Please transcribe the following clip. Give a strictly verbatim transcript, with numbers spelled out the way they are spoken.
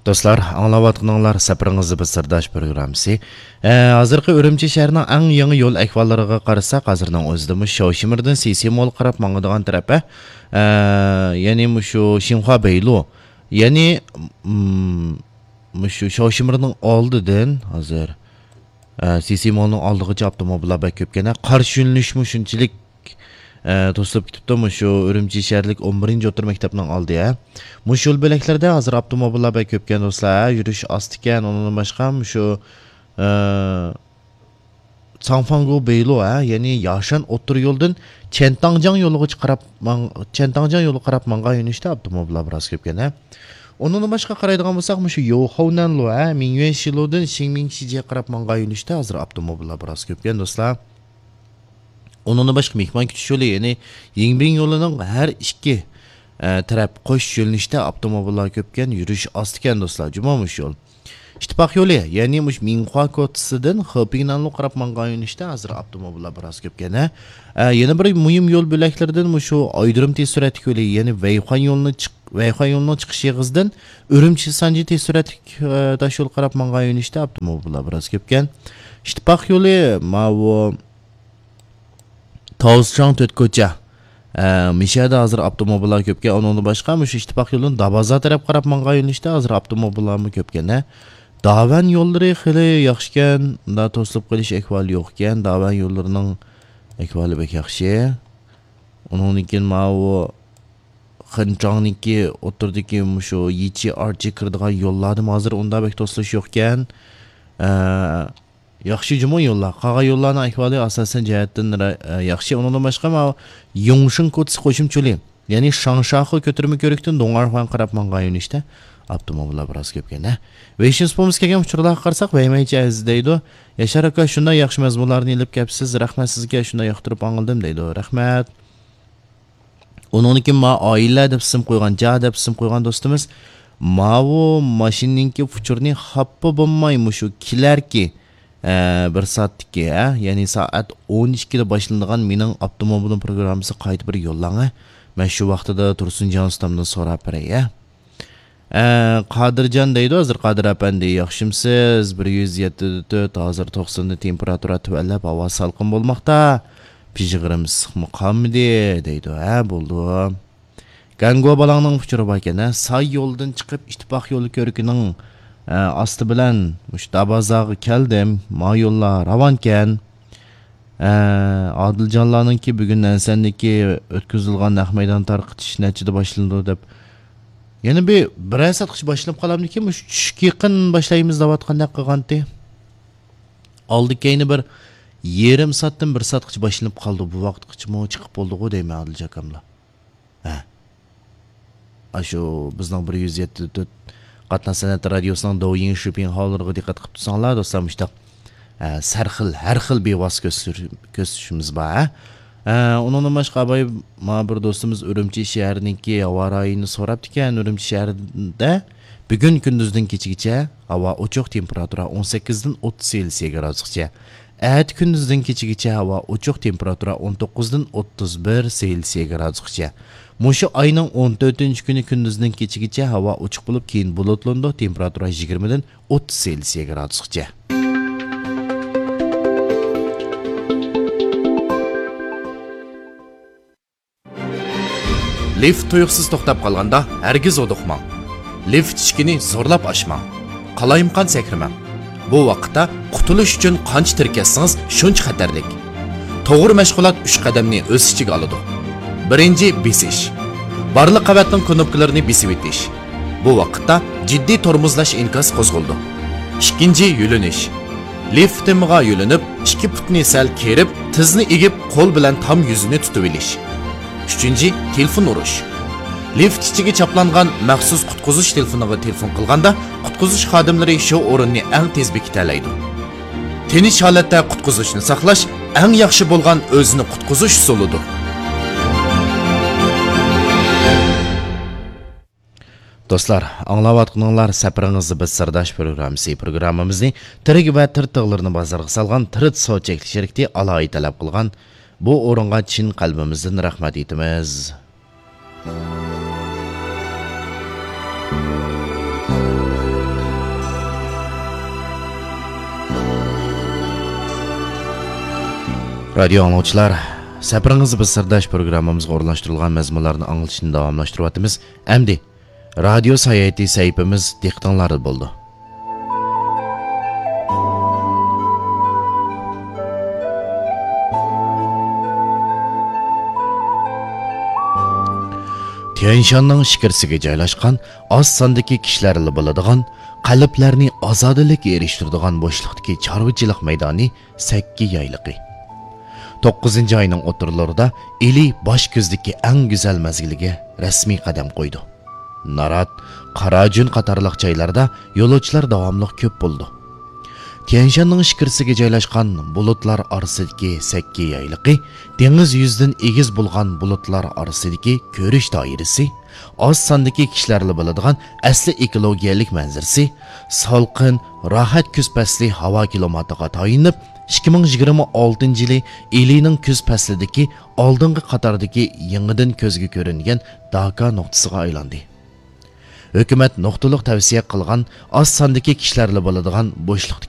دوستلار، ئاڭلاۋاتقىنىڭلار سەپىرىڭىزدە بىز سىرداش پروگراممىسى. ئە، ھازىرقى ئۈرۈمچى شەھىرىنىڭ ئەڭ يېڭى يول ئەھۋاللىرىغا قارىساق، ھازىرنىڭ ئۆزىدىمۇ شاۋشىمىردىن سىسىمولغا قاراپ ماڭىدىغان تەرەپ، ئە، ئە، يەنى مۇشۇ شىنخۇا بەيلۇ، يەنى، م، مۇشۇ شاۋشىمىردىن ئالدىدىن ھازىر، ئە، سىسىمولنىڭ ئالدىغىچە ئاپتوموبىللار بەك كۆپكەن. قارشى يۆنىلىشمۇ شۇنچىلىك، ئە، توسۇلۇپ كېتىپتۇ. مۇشۇ ئۈرۈمچى شەھەرلىك ئون بىرىنچى ئوتتۇرا مەكتەپنىڭ ئالدى، ھە. مۇشۇ يول بۆلەكلەردە ھازىر ئاپتوموبىللار بەك كۆپكەن دوستلار، ھە. يۈرۈش ئاستا ئىكەن. ئۇنىڭدىن باشقا مۇشۇ، ئە، ساڭفاڭگو بېيلۇ، ھە، يەنى ياشان ئوتتۇرا يولدىن چيەنتاڭجياڭ يولىغىچە قاراپ ماڭ-، چيەنتاڭجياڭ يولىغا قاراپ ماڭغان يۆنىلىشتە ئاپتوموبىللار بىراز كۆپكەن، ھە. ئۇنىڭدىن باشقا قارايدىغان بولساق، مۇشۇ يوخاۋنەنلۇ، ھە، مىڭيۈەنشىلۇدىن شىڭمىڭشىجيەگە قاراپ ماڭغان يۆنىلىشتە ھازىر ئاپتوموبىللار بىراز كۆپكەن، دوستلار. ئۇنىڭدىن باشقا مېھمان كۈتۈش يولى، يەنى يىڭبىڭ يولىنىڭ ھەر ئىككى، ئە، تەرەپ قوش يۆنىلىشتە ئاپتوموبىللار كۆپكەن، يۈرۈش ئاستا ئىكەن، دوستلار، جۇمۇ مۇشۇ يول. ئىتتىپاق يولى، يەنى مۇشۇ مىڭخۇا كوتىسىدىن خېپىڭنەنلۇ قاراپ ماڭغان يۆنىلىشتە ھازىر ئاپتوموبىللار بىراز كۆپكەن، ھە. ئە، يەنە بىر مۇھىم يول بۆلەكلىرىدىن مۇشۇ ئايرىم تېز سۈرئەتلىك يولى، يەنى ۋەيخۇەن يولىنى چىق-، ۋەيخۇەن يولىنىڭ چىقىش ئېغىزىدىن ئۈرۈمچى سانجى تېز سۈرئەتلىك، ئە، تاشيول قاراپ ماڭغان يۆنىلىشتە ئاپتوموبىللار بىراز كۆپكەن. ئىتتىپاق يولى ماۋۇ تاۋزچاڭ تۆت كوچا. ئە، مىشەدە ھازىر ئاپتوموبىللار كۆپكەن. ئۇنىڭدىن باشقا، مۇشۇ ئىتتىپاق يولىدىن دابازا تەرەپ قاراپ ماڭغان يۆنىلىشتە ھازىر ئاپتوموبىللارمۇ كۆپكەن، ھە. داۋەن يوللىرى خېلى ياخشىكەن. ئۇنداق توسۇلۇپ قېلىش ئەھۋالى يوقكەن. داۋەن يوللىرىنىڭ ئەھۋالى بەك ياخشى. ئۇنىڭدىن كېيىن ماۋۇ خېنچاڭنىڭكى ئوتتۇرىدىكى مۇشۇ يىچى ئارچى كىرىدىغان يوللاردىمۇ ھازىر ئۇنداق بەك توسۇلۇش يوقكەن. ئە، ياخشى جۇمۇ يوللار. قالغان يوللارنىڭ ئەھۋالى ئاساسەن جەھەتتىن را-، ئە، ياخشى. ئۇنىڭدىن باشقا، ماۋۇ يۇڭشىڭ كوتىسى قوشۇمچە يولى، يەنى شاڭشاخې كۆتۈرمە كۆۋرۈكتىن دۇڭئەرخۇەن قاراپ ماڭغان يۆنىلىشتە ئاپتوموبىللار بىراز كۆپكەن، ھە. ۋېيشىن سۇپىمىز كەلگەن ئۇچۇرلارغا قارىساق، ۋەيمەيچى ئەزىز دەيدۇ. ياشار ئاكا، شۇنداق ياخشى مەزمۇنلارنى ئېلىپ كەپسىز. رەھمەت سىزگە، شۇنداق ياقتۇرۇپ ئاڭلىدىم دەيدۇ. رەھمەت. ئۇنىڭدىن كېيىن ما ئائىلە دەپ ئىسىم قويغان، جا دەپ ئىسىم قويغان دوستىمىز، ماۋۇ ماشىنىنىڭكى ئۇچۇرىنى خاپا بولماي مۇشۇ كېلەركى، ئە، بىر سائەتتىكى، ھە، يەنى سائەت ئون ئىككىدە باشلىنىدىغان مېنىڭ ئاپتوموبىلىم پروگراممىسىغا قايتا بىر يوللاڭ، ھە. مەن شۇ ۋاقتىدا تۇرسۇنجان ئۇستامدىن سوراپ بېرەي، ھە. ئە، قادىرجان دەيدۇ، ھازىر قادىر ئەپەندى، ياخشىمسىز؟ بىر يۈز يەتتە تۆت، ھازىر توقساندا تېمپېراتۇرا تۆۋەنلەپ، ھاۋا سالقىن بولماقتا. پىژغىرىم ئىسسىقمۇ قالمىدى، دەيدۇ. ھە، بولدى. گەنگۇ بالاڭنىڭ ئۇچۇرى باركەن، ھە. ساي يولىدىن چىقىپ، ئىتتىپاق يولى كۆرۈكىنىڭ، ئە، ئاستى بىلەن مۇشۇ دابازاغا كەلدىم. ما يوللار راۋانكەن. ئە، ئادىلجانلارنىڭكى بۈگۈن ئەنسەندىكى ئۆتكۈزۈلغان نەق مەيدان تارقىتىش نەچچىدە باشلىنىدۇ دەپ، يەنە بىر، بىرەر سائەتقىچە باشلىنىپ قالامدىكىن، مۇشۇ چۈشكە يېقىن باشلايمىز دەۋاتقاندەك قىلغانتى. ئالدى كەينى بىر يېرىم سائەتتىن بىر سائەتقىچە باشلىنىپ قالدى. بۇ ۋاقىتقىچىمۇ چىقىپ بولدىغۇ دەيمەن، ئادىلجان ئاكاملا. ھە. ئاشۇ بىزنىڭ بىر يۈز يەتتە تۆت قاتناش سەنئەت رادىيوسىنىڭ دوۋيىڭ شۈپىڭ ھاۋلىرىغا دىققەت قىلىپ تۇرساڭلار، دوستلار، مۇشۇنداق، ئە، سەرخىل، ھەر خىل بىۋاسىتە كۆرسىتىش-، كۆرسىتىشىمىز بار، ھە. ئە، ئۇنىڭدىن باشقا، ئاباي، ما بىر دوستىمىز ئۈرۈمچى شەھىرىنىڭكى ھاۋا رايىنى سوراپتىكەن. ئۈرۈمچى شەھىرىدە بۈگۈن كۈندۈزدىن كېچىگىچە ھاۋا ئوچۇق، تېمپېراتۇرا ئون سەككىزدىن ئوتتۇز سېلسىيە گرادۇسقىچە. ئەتە كۈندۈزدىن كېچىگىچە ھاۋا ئوچۇق، تېمپېراتۇرا ئون توققۇزدىن ئوتتۇز بىر سېلسىيە گرادۇسقىچە. مۇشۇ ئاينىڭ ئون تۆتىنچى كۈنى كۈندۈزدىن كېچىگىچە ھاۋا ئوچۇق بولۇپ، كېيىن بۇلۇتلىنىدۇ، تېمپېراتۇرا يىگىرمىدىن ئوتتۇز سېلسىيە گرادۇسقىچە. لىفت تۇيۇقسىز توختاپ قالغاندا، ھەرگىز ھودۇقماڭ. لىفت ئىشىكىنى زورلاپ ئاچماڭ. قالايمىقان سەكرىمەڭ. بۇ ۋاقىتتا قۇتۇلۇش ئۈچۈن قانچە تىركەشسىڭىز، شۇنچە خەتەرلىك. توغرا مەشغۇلات ئۈچ قەدەمنى ئۆز ئىچىگە ئالىدۇ. بىرىنچى، بېسىش. بارلىق قەۋەتنىڭ كۇنۇپكىلىرىنى بېسىۋېتىش. بۇ ۋاقىتتا جىددىي تورمۇزلاش ئىنكاسى قوزغىلىدۇ. ئىككىنچى، يۆلىنىش. لىفت تېمىغا يۆلىنىپ، ئىككى پۇتنى سەل كېرىپ، تىزنى ئېگىپ، قول بىلەن تام يۈزىنى تۇتۇۋېلىش. ئۈچىنچى، تېلېفون ئۇرۇش. لىفت ئىچىگە چاپلانغان مەخسۇس قۇتقۇزۇش تېلېفونىغا تېلېفون قىلغاندا، قۇتقۇزۇش خادىملىرى شۇ ئورۇننى ئەڭ تېز بېكىتەلەيدۇ. تىنچ ھالەتتە قۇتقۇزۇشنى ساقلاش ئەڭ ياخشى بولغان ئۆزىنى قۇتقۇزۇش ئۇسۇلىدۇر. دوستلار، ئاڭلاۋاتقىنىڭلار سەپىرىڭىزدە بىز سىرداش پروگراممىسى. پروگراممىمىزنى تىرىك ۋە تىرىت تىغلىرىنى بازارغا سالغان تىرىت سودا چەكلىك شىركىتى ئالاھىدە تەلەپ قىلغان. بۇ ئورۇنغا چىن قەلبىمىزدىن رەھمەت ئېيتىمىز. رادىيو ئاڭلىغۇچىلار، سەپىرىڭىز بىز سىرداش پروگراممىمىزغا ئورۇنلاشتۇرۇلغان مەزمۇنلارنى ئاڭلىتىشنى داۋاملاشتۇرۇۋاتىمىز. ئەمدى رادىيو ساياھىتى سەھىپىمىز دىققىتىڭلاردا بولىدۇ. تيەنشاننىڭ ئىچكىرىسىگە جايلاشقان، ئاز ساندىكى كىشىلەرلا بولىدىغان، قەلبلەرنى ئازادىلىككە ئېرىشتۈرىدىغان بوشلۇقتىكى چارۋىچىلىق مەيدانى سەككى يايلىقى. توققۇزىنچى ئاينىڭ ئوتتۇرىلىرىدا ئىلى باش كۆزدىكى ئەڭ گۈزەل مەزگىلىگە رەسمىي قەدەم قويىدۇ. نارات، قاراجۈن قاتارلىق جايلاردا يولۇچىلار داۋاملىق كۆپ بولىدۇ. تيەنشاننىڭ ئىچكىرىسىگە جايلاشقان بۇلۇتلار ئارىسىدىكى سەككى يايلىقى، دېڭىز يۈزىدىن ئېگىز بولغان بۇلۇتلار ئارىسىدىكى كۆرۈش دائىرىسى، ئاز ساندىكى كىشىلەرلا بىلىدىغان ئەسلى ئېكولوگىيەلىك مەنزىرىسى، سالقىن، راھەت كۈز پەسلى ھاۋا كىلىماتىغا تايىنىپ، ئىككى مىڭ يىگىرمە ئالتىنچى يىلى ئىلىنىڭ كۈز پەسلىدىكى ئالدىنقى قاتاردىكى يېڭىدىن كۆزگە كۆرۈنگەن داكا نۇقتىسىغا ئايلاندى. ھۆكۈمەت نۇقتىلىق تەۋسىيە قىلغان ئاز ساندىكى كىشىلەرلا بولىدىغان بوشلۇقتىكى